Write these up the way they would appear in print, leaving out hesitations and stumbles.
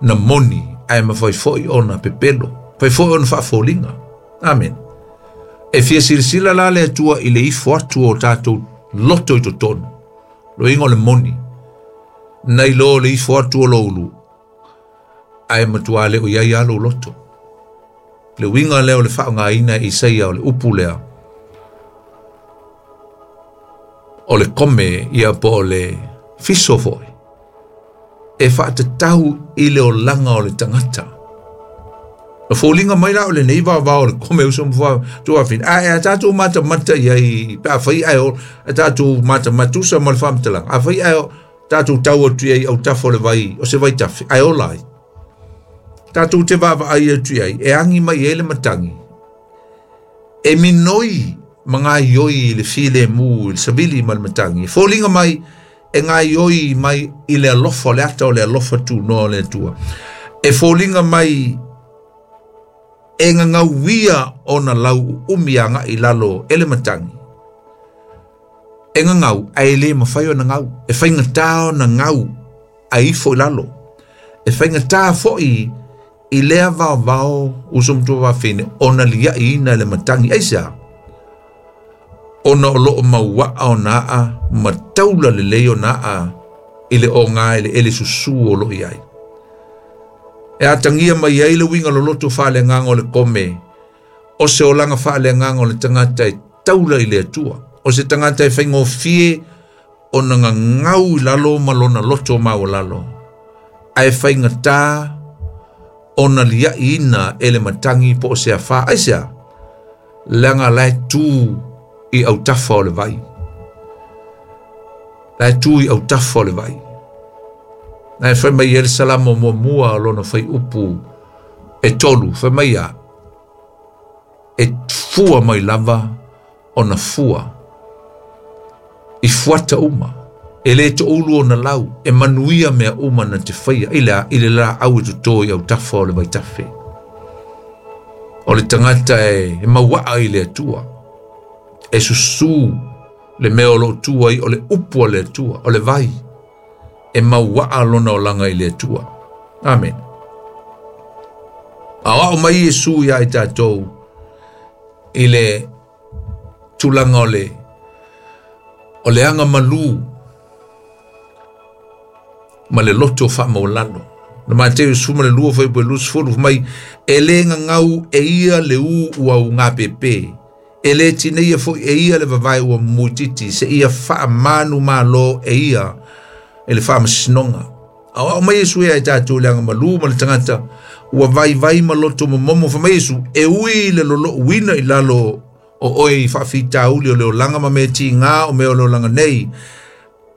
na moni ae mafai foi ona pepelo, mafai foi ona faafoliga. Amene. E fia silasila la le Atua i le ifo atu o tatou loto i totonu, loiga o le moni, nai lo le ifo atu o lou ulu, ae matua le o i ai lava lou loto. Le uiga lea o le faaaogaina e Isaia o le upu lea, o le kome ia po o le fiso foi, e faatatau i le olaga o le tagata. Na foliga mai la o lenei vaovao o le kome uso ma tuafina. Ae a tatou matamata i ai, pe a fai ae o, a tatou matamata tusa ma le faamatalaga, a fai ae o, tatou tau atu i ai autafa o le vai, o se vaitafe, ae ola ai. Tatou te vaavaai atu i ai, e agi mai ai le matagi, e minoi ma gaioi i le filemu i le savili ma le matagi. E foliga mai e gaioi mai i le alofa o le ata o le alofa tunoa o le Atua. E foliga mai e gagauia ona lau uumi agai i lalo e le matagi. E gagau ae le mafai ona gau, e faigata ona gau ae ifo i lalo. E faigata foi i lea vaovao uso ma tuafafine ona liaiina e le matagi. Aisea? Ona o loo mauaa ona aa ma taula lelei ona aa i le oga i le ele susu o loo i ai. E atagia mai ai le uiga loloto faaleagaga o le kome, o se olaga faaleagaga o le tagata e taula i le Atua, o se tagata e faigofie ona gagau i lalo ma lona loto maualalo, ae faigata ona liaiina e le matagi po o se afā. Aisea? Leaga la e tu i autafa o le vai. La e tu i autafa o le vai. Na e fai mai e le Salamo muamua o lona fai upu e tolu, fai mai ia, e fua mai lava ona fua i fuata uma, e le toulu ona lau, e manuia mea uma na te faia, i le, i le laau e toto i autafa o le vaitafe. O le tagata e mauaa i le Atua, e susu le mea o loo tu ai o le upu a le Atua, o le vai, e mauaa lona olaga i le Atua. Amen. Aoao mai Iesu ia i tatou i le tulaga o le aga malu ma le loto faamaualalo. Na Mateo 12 fai po 20 mai e le gagau e ia le u ua ugapepe, e le tineia foi e ia le vavae ua muititi, se ia faamanu malo e ia e le faamasinoga. Aoao mai Iesu ia i tatou le aga malu ma le tagata ua vaivai ma loto momomo. Fai mai Iesu, e ui le lolouina i lalo o oe i faafitauli o le olaga ma mea tiga o mea o le olaga nei,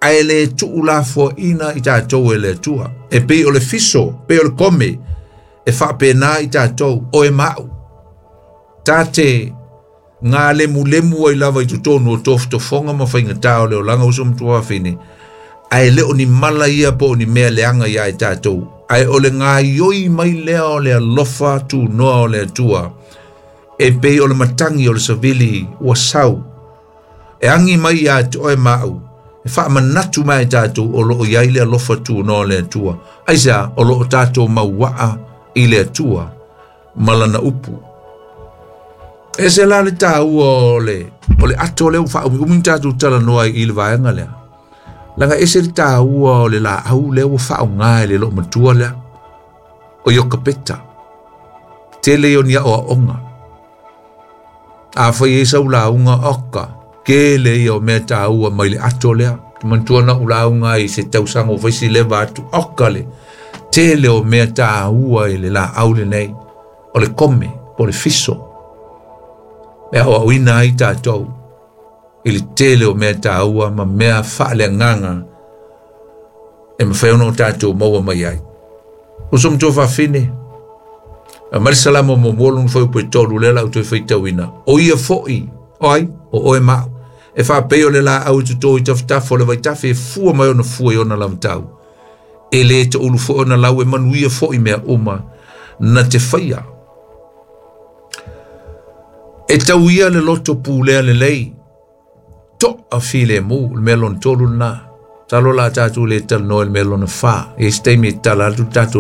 ae le tuulafoaina i tatou e le Atua. E pei o le fiso, pei o le kome, e faapena i tatou, oe ma au. Ta te ngā lemulemu ai lava i totonu o tofotofoga ma faigata o le olaga uso ma tuafafine, ae le o ni mala ia po o ni mea leaga ia i tatou, ae o le gaioi mai lea o le alofa tunoa o le Atua, e pei o le matagi o le savili ua sau, e agi mai ia te oe ma au, e faamanatu mai i tatou o loo i ai le alofa tunoa o le Atua. Aisea? O loo tatou mauaa i le Atua ma lana upu. E se la le tāua o le ato lea ua faaumiumi tatou talanoa i le vaega lea. Leaga ese le tāua o le laau lea ua faaaoga e le loomatua lea, o Iokapeta. Tele ia o ni aoaoga. A fai ai sau lauga oka, tele ia o mea tāua mai le ato lea. Te manatua na ou lauga ai se tausaga ua fai si leva atu, oka le tele o mea tāua i le laau lenei, o le kome po o le fiso. E aoaoina ai tatou i le tele o mea tāua ma mea faaleagaga e mafai ona o tatou maua mai ai. Uso ma tuafafine, a mai le Salamo muamua lona fuaiupu e tolu lea la ou toe faitauina. O ia foi, o ai, o oe ma au, e faapei o le laau i toto i tafatafa o le vaitafe e fua mai ona fua i ona lavatau. E le toulu foi ona lau e manuia foi mea uma na te faia. E tau ia le loto pulea lelei, toa filemu, le mea lona tolu lena. Talo la tatou le talanoa i le mea lona fa. E se taimi e tala atu tatou.